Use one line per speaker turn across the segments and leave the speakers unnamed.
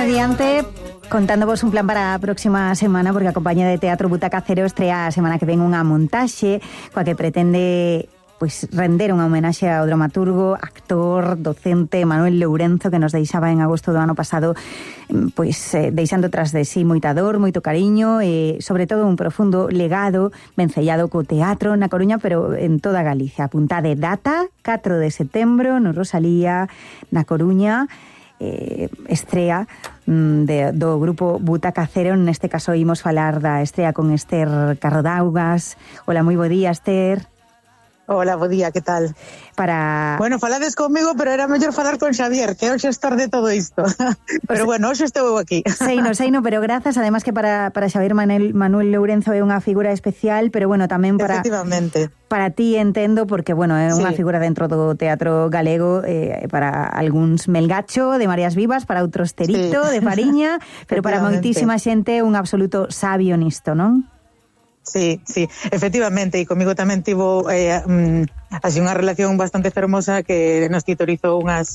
mediante, contándovos un plan para a próxima semana, porque a compañía de Teatro Butaca Cero estrea a semana que ven unha montaxe coa que pretende render unha homenaxe ao dramaturgo, actor, docente Manuel Lourenzo, que nos deixaba en agosto do ano pasado, deixando tras de sí moita dor, moito cariño e sobre todo un profundo legado vencellado co teatro na Coruña, pero en toda Galicia. Apuntade data, 4 de setembro, no Rosalía, na Coruña. Estrea do grupo Butaca Cero. Neste caso imos falar da estrea con Esther Carrodaugas. Hola, moi bo día, Esther.
Hola, bo día, que tal? Bueno, falades comigo, pero era mellor falar con Xavier, que é o xestor de todo isto. Pero bueno, hoxe estou aquí.
Seino, pero grazas, además que para Xavier Manuel Lourenzo é unha figura especial, pero bueno, tamén para...
Efectivamente.
Para ti entendo, porque bueno, é unha figura dentro do teatro galego, para algúns Melgacho, de Marías Vivas, para outros Terito, de Fariña, pero para moitísima xente un absoluto sabio nisto, non?
Sí, efectivamente, e comigo tamén tivo así unha relación bastante fermosa, que nos titorizou unhas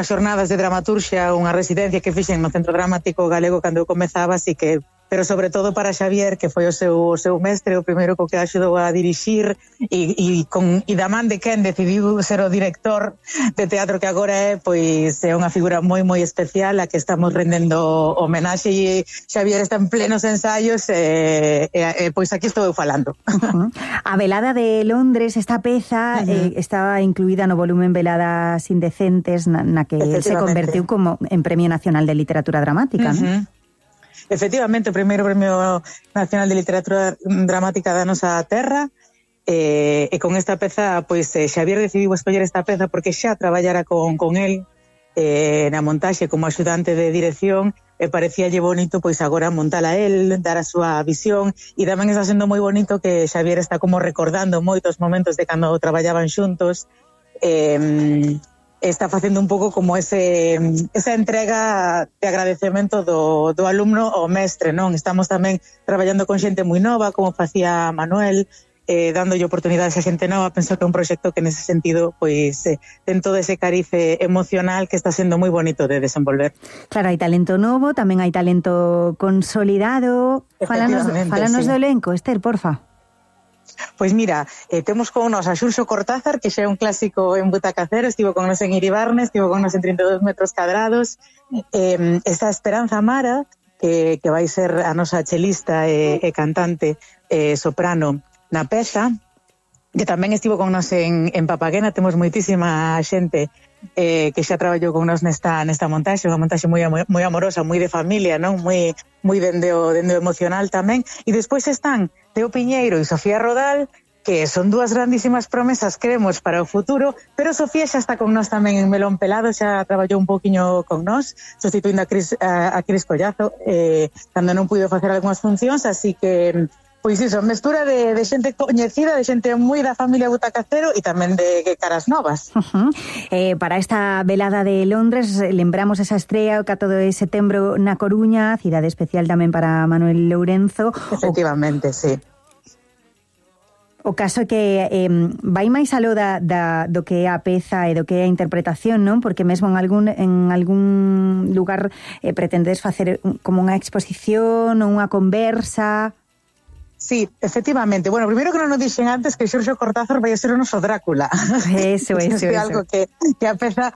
xornadas de dramaturxia, unha residencia que fixen no Centro Dramático Galego cando eu comezaba, así que, pero sobre todo para Xavier, que foi o seu mestre, o primeiro co que axudou a dirixir, e da man de quen decidiu ser o director de teatro que agora é, pois é unha figura moi moi especial a que estamos rendendo homenaxe, e Xavier está en plenos ensaios, pois aquí estou eu falando.
A Velada de Londres, esta peza estaba incluída no volumen Veladas Indecentes, na que se convertiu como en Premio Nacional de Literatura Dramática, non?
Efectivamente, o primeiro Premio Nacional de Literatura Dramática da nosa terra, e con esta peza, pois Xavier decidiu escoller esta peza porque xa traballara con el na montaxe como axudante de dirección, e parecíalle bonito pois agora montala el, dar a súa visión, e tamén está sendo moi bonito que Xavier está como recordando moitos momentos de cando traballaban xuntos, está facendo un pouco como esa entrega de agradecemento do alumno ao mestre, non? Estamos tamén traballando con xente moi nova, como facía Manuel, dándolle oportunidades a xente nova. Penso que é un proxecto que nese sentido pois ten todo ese carice emocional que está sendo moi bonito de desenvolver.
Claro, hai talento novo, tamén hai talento consolidado. Fálanos do elenco, Esther, porfa.
Pois mira, temos con nos a Xurxo Cortázar, que xa é un clásico en Butaca Cero, estivo con nos en Iribarne, estivo con nos en 32 metros cadrados. Está Esperanza Mara, que vai ser a nosa chelista e cantante soprano na peza, que tamén estivo con nos en Papaguena. Temos moitísima xente que xa traballou con nos nesta montaxe, unha montaxe moi amorosa, moi de familia, non? Moi dende o emocional tamén. E despois están Teo Piñeiro e Sofía Rodal, que son dúas grandísimas promesas, creemos, para o futuro, pero Sofía xa está con nós tamén en Melón Pelado, xa traballou un poquinho con nós, sustituindo a Cris Collazo, cando non puido facer algunhas funcións, así que... Pois iso, mestura de xente coñecida, de xente moi da familia Butaca Cero e tamén de caras novas.
Para esta velada de Londres, lembramos esa estrea o 4 de setembro na Coruña, cidade especial tamén para Manuel Lourenzo.
Efectivamente, sí.
O caso é que vai máis aló do que é a peza e do que é a interpretación, non? Porque mesmo en algún lugar pretendes facer como unha exposición ou unha conversa...
Sí, efectivamente. Bueno, primeiro que non nos dixen antes que Xurxo Cortázar vai a ser o noso Drácula.
Eso.
É algo que a peza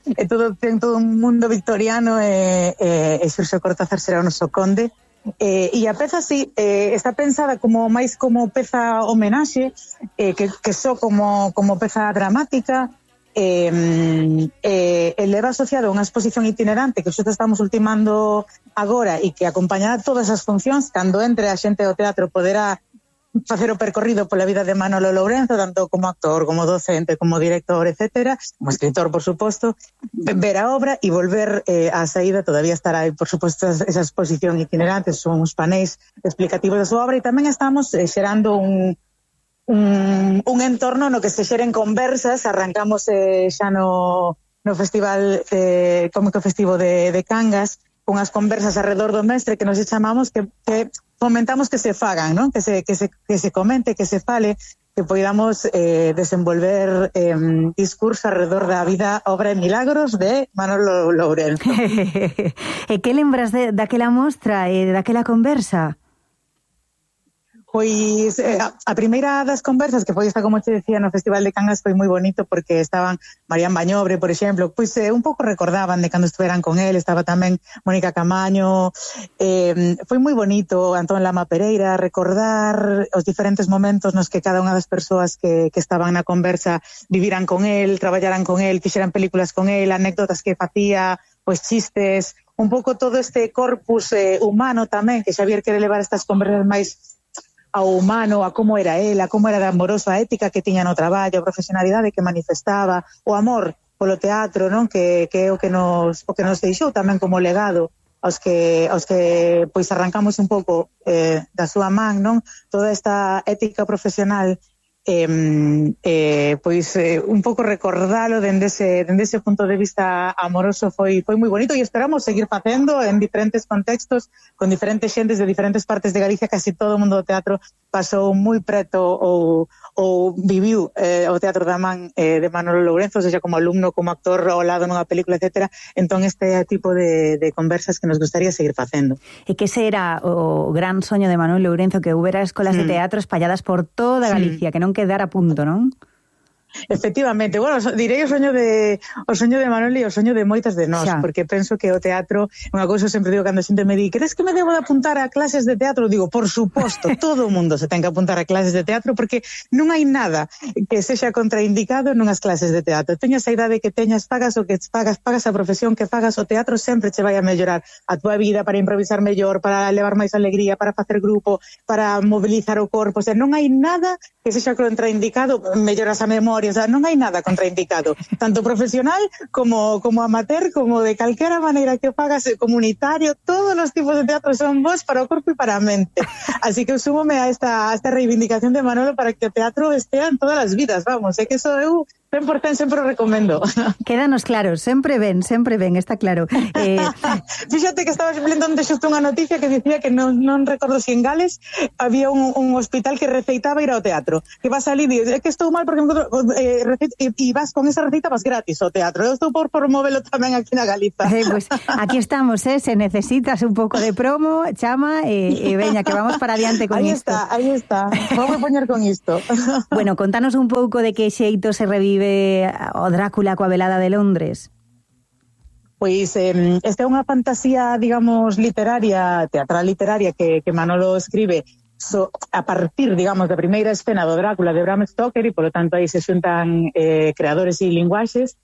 ten todo un mundo victoriano, e Xurxo Cortázar será o noso conde. E a peza, sí, está pensada como máis como peza homenaxe, que só como peza dramática, leva asociado a unha exposición itinerante que xo estamos ultimando agora e que acompañará todas as funcións. Cando entre a xente do teatro poderá facer o percorrido pola vida de Manolo Lourenzo, tanto como actor, como docente, como director, etcétera, como escritor, por suposto, ver a obra e volver á saída. Todavía estará, por suposto, esa exposición itinerante, son uns panéis explicativos da súa obra, e tamén estamos xerando un entorno no que se xeren conversas. Arrancamos xa no Festival Cómico Festivo de Cangas, unhas conversas alrededor do mestre que nos chamamos, que fomentamos que se fagan, non? Que se comente, que se fale, que podamos desenvolver discurso alrededor da vida, obra e milagros de Manolo Lourenzo.
E que lembras daquela mostra e daquela conversa?
Pois a primeira das conversas que foi esta, como te decía, no Festival de Cangas foi moi bonito porque estaban Marián Bañobre, por exemplo, pois un pouco recordaban de cando estuveran con él, estaba tamén Mónica Camaño, foi moi bonito Antón Lama Pereira recordar os diferentes momentos nos que cada unha das persoas que estaban na conversa viviran con él, traballaran con él, fixeran películas con él, anécdotas que facía, pois chistes, un pouco todo este corpus humano tamén, que Xavier quere levar estas conversas máis ao humano, a como era él, a como era de amoroso, a ética que tiña no traballo, a profesionalidade que manifestaba, o amor polo teatro, non? Que é o que nos deixou tamén como legado aos que pois arrancamos un pouco da súa man, non? Toda esta ética profesional pois un pouco recordalo dende ese punto de vista amoroso foi moi bonito e esperamos seguir facendo en diferentes contextos con diferentes xentes de diferentes partes de Galicia. Casi todo o mundo do teatro pasou moi preto ou viviu o teatro da man de Manolo Lourenzo, seja como alumno, como actor ao lado nunha película, etcétera. Entón este tipo de conversas que nos gustaría seguir facendo.
E que ese era o gran soño de Manolo Lourenzo, que houbera escolas de teatro espalladas por toda Galicia, que non quedara a punto, non?
Efectivamente, bueno, direi o soño de Manolo e o soño de moitas de nós, porque penso que o teatro, unha cousa sempre digo cando a xente me di, "Crees que me debo de apuntar a clases de teatro?" Digo, por suposto, todo o mundo se ten que apuntar a clases de teatro porque non hai nada que sexa contraindicado nunhas clases de teatro. Teñas a idade que teñas, pagas o que pagas a profesión que fagas, o teatro sempre che vai a mellorar a túa vida para improvisar mellor, para levar máis alegría, para facer grupo, para mobilizar o corpo, o sea, non hai nada que sexa contraindicado, melloras a memoria, o sea, non hai nada contraindicado, tanto profesional como amateur, como de calquera maneira que fagas, comunitario, todos os tipos de teatro son bons para o corpo e para a mente. Así que súmome a esta reivindicación de Manolo para que o teatro estea en todas as vidas, vamos, é que eso eu 100% sempre o recomendo.
Quédanos claros, sempre ben, está claro.
Fíxate que estaba lendo onde xusto unha noticia que dicía que non recordo se en Gales había un hospital que receitaba ir ao teatro, que vas ali e dices, é que estou mal porque e vas con esa receita vas gratis ao teatro. Eu estou por promovelo tamén aquí na Galiza.
Pues aquí estamos, se necesitas un pouco de promo, chama e veña que vamos para adiante con isto.
Aí está, vamos a poñer con isto.
Bueno, contanos un pouco de que xeito se revive o Drácula coa velada de Londres.
Pois esta é unha fantasía, digamos, teatral literaria que Manolo escribe a partir, digamos, da primeira escena do Drácula de Bram Stoker e, polo tanto, aí se xuntan creadores e linguaxes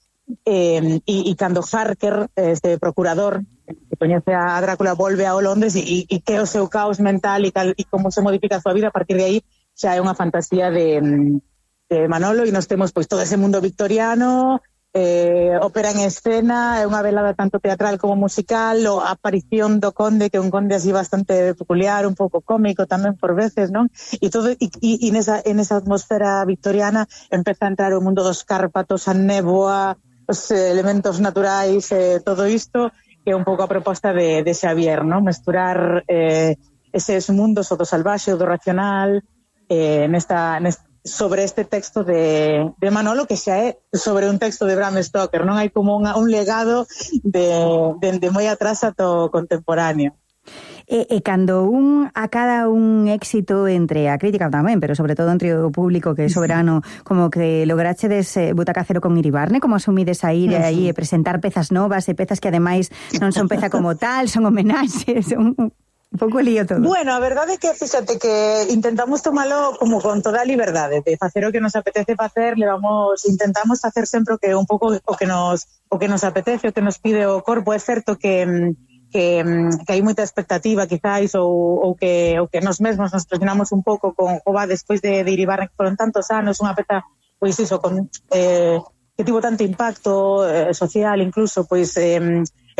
e cando Harker, este procurador que coñece a Drácula, volve ao Londres e que o seu caos mental e como se modifica a súa vida, a partir de aí xa é unha fantasía de Manolo e nos temos pois todo ese mundo victoriano, ópera en escena, é unha velada tanto teatral como musical, a aparición do conde, que é un conde así bastante peculiar, un pouco cómico tamén por veces, non? E todo nesa atmosfera victoriana empeza a entrar o mundo dos Cárpatos, a néboa, os elementos naturais, todo isto que é un pouco a proposta de Xavier, non? Mesturar eses mundos, o do salvaxe, o do racional, sobre este texto de Manolo, que xa é sobre un texto de Bram Stoker, non hai como un legado de moi atrás ata o contemporáneo.
E cando acada un éxito entre a crítica tamén, pero sobre todo entre o público que é soberano, como que lograchedes Butaca Cero con Iribarne, como asumides a ir aí e presentar pezas novas e pezas que ademais non son peza como tal, son homenaxes, un pouco lío todo. Bueno,
a verdade é que, fíxate, que intentamos tomalo como con toda a liberdade, de facer o que nos apetece facer, intentamos facer sempre un pouco o que nos apetece, o que nos pide o corpo. É certo que hai moita expectativa, quizáis, ou que nos mesmos nos presionamos un pouco con Jova despois de Iribarne, que foron tantos anos, unha peza, pois iso, que tivo tanto impacto social, incluso, pois é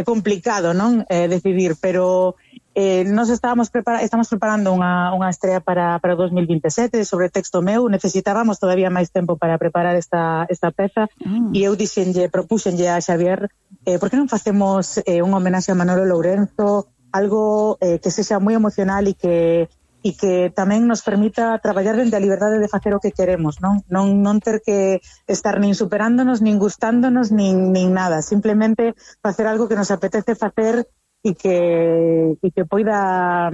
complicado, non? Decidir, pero nos estamos preparando unha estrea para o 2027 sobre texto meu. Necesitábamos todavía máis tempo para preparar esta peza e eu propúxenlle a Xavier por que non facemos un homenaxe a Manolo Lourenzo, algo que sexa moi emocional e que e que tamén nos permita traballar dende a liberdade de facer o que queremos, non ter que estar nin superándonos, nin gustándonos, nin nada, simplemente facer algo que nos apetece facer e que poida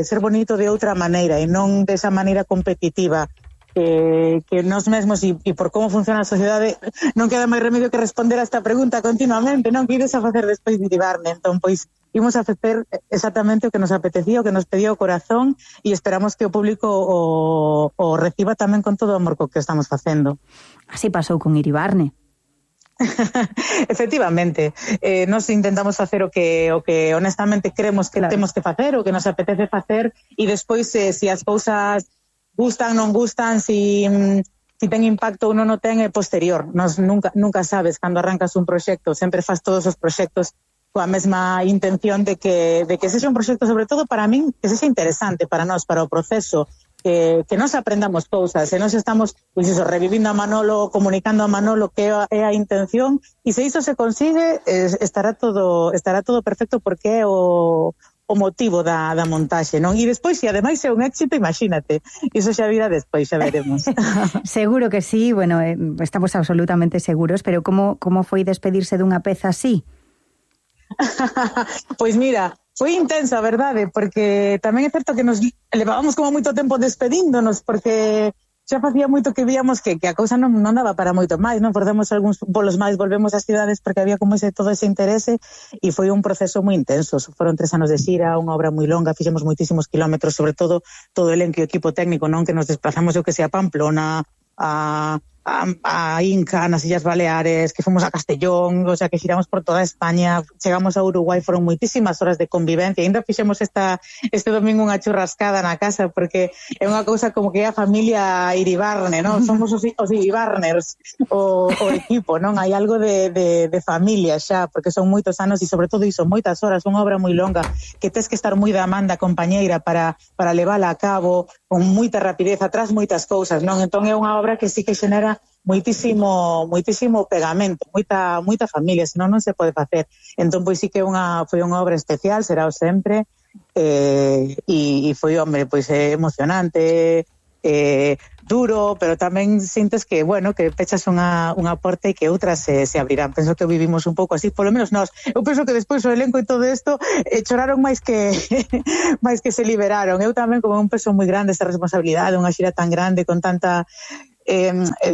ser bonito de outra maneira e non desa maneira competitiva que nós mesmos e por como funciona a sociedade non queda máis remedio que responder a esta pregunta continuamente, non? Que ides a facer despois de Iribarne? Entón, pois, imos a facer exactamente o que nos apetecía, o que nos pedía o corazón e esperamos que o público o reciba tamén con todo o amor co que estamos facendo.
Así pasou con Iribarne.
Efectivamente, nos intentamos facer o que honestamente creemos que temos que facer, o que nos apetece facer e despois se as cousas gustan, non gustan, si ten impacto ou non o ten é posterior. Nos nunca sabes cando arrancas un proxecto, sempre faz todos os proxectos coa mesma intención de que sexa un proxecto, sobre todo para min, que sexa interesante para nós, para o proceso, que nos aprendamos cousas, e nos estamos revivindo a Manolo, comunicando a Manolo que é a intención, e se iso se consigue, estará todo perfecto porque é o motivo da montaxe, non? E despois, se ademais é un éxito, imagínate, iso xa virá despois, xa veremos.
Seguro que sí, bueno, estamos absolutamente seguros, pero como foi despedirse dunha peza así?
Pois mira, foi intenso, a verdade, porque tamén é certo que nos levábamos como moito tempo despedíndonos, porque xa facía moito que víamos que a cousa non daba para moito máis, non? Perdemos algúns bolos máis, volvemos ás cidades porque había como todo ese interese e foi un proceso moi intenso. Foron 3 anos de xira, unha obra moi longa, fixemos moitísimos kilómetros, sobre todo o elenco e o equipo técnico, non? Que nos desplazamos, eu que sei, a Pamplona, a Inca, nas Illas Baleares, que fomos a Castellón, o sea, que xiramos por toda España, chegamos a Uruguai, foron moitísimas horas de convivencia, ainda fixemos este domingo unha churrascada na casa, porque é unha cousa como que é a familia Iribarne, non? Somos os Iribarners, o equipo, non? Hai algo de familia xa, porque son moitos anos e sobre todo iso, moitas horas, unha obra moi longa, que tes que estar moi da man da compañeira para levala a cabo, con moita rapidez, atrás moitas cousas, non? Entón é unha obra que sí que xenera moitísimo pegamento, moita familia, senón non se pode facer. Entón, pois sí que foi unha obra especial, será o sempre, e foi, hombre, pois emocionante, duro, pero tamén sintes que, bueno, que pechas unha porta e que outras se abrirán. Penso que vivimos un pouco así, polo menos nós. Eu penso que despois o elenco e todo isto choraron máis que se liberaron. Eu tamén, como un peso moi grande esta responsabilidade, unha xira tan grande, con tanta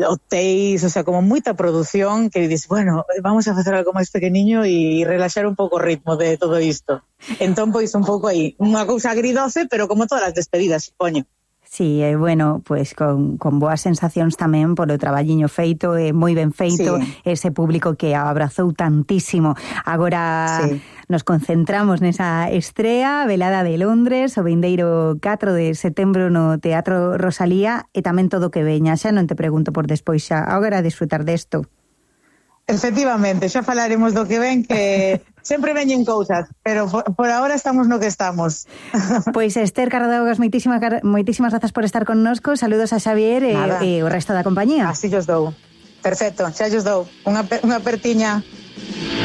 hotéis, o sea, como moita produción, que dices, bueno, vamos a facer algo máis pequeniño e relaxar un pouco o ritmo de todo isto. Entón, pois, un pouco aí, unha cousa agridoce, pero como todas as despedidas, supoño.
Sí, bueno, pues con boas sensacións tamén polo traballiño feito, moi ben feito, sí. Ese público que abrazou tantísimo. Agora sí. Nos concentramos nesa estrea, Velada de Londres, o vindeiro 4 de setembro no Teatro Rosalía, e tamén todo o que veña. Xa non te pregunto por despois, xa agora a disfrutar desto.
Efectivamente, xa falaremos do que ven, que sempre veñen cousas, pero por ahora estamos no que estamos.
Pois Esther Cardaugas, moitísimas grazas por estar connosco. Saludos a Xavier e o resto da compañía.
Así os dou. Perfecto, xa os dou. Unha apertiña.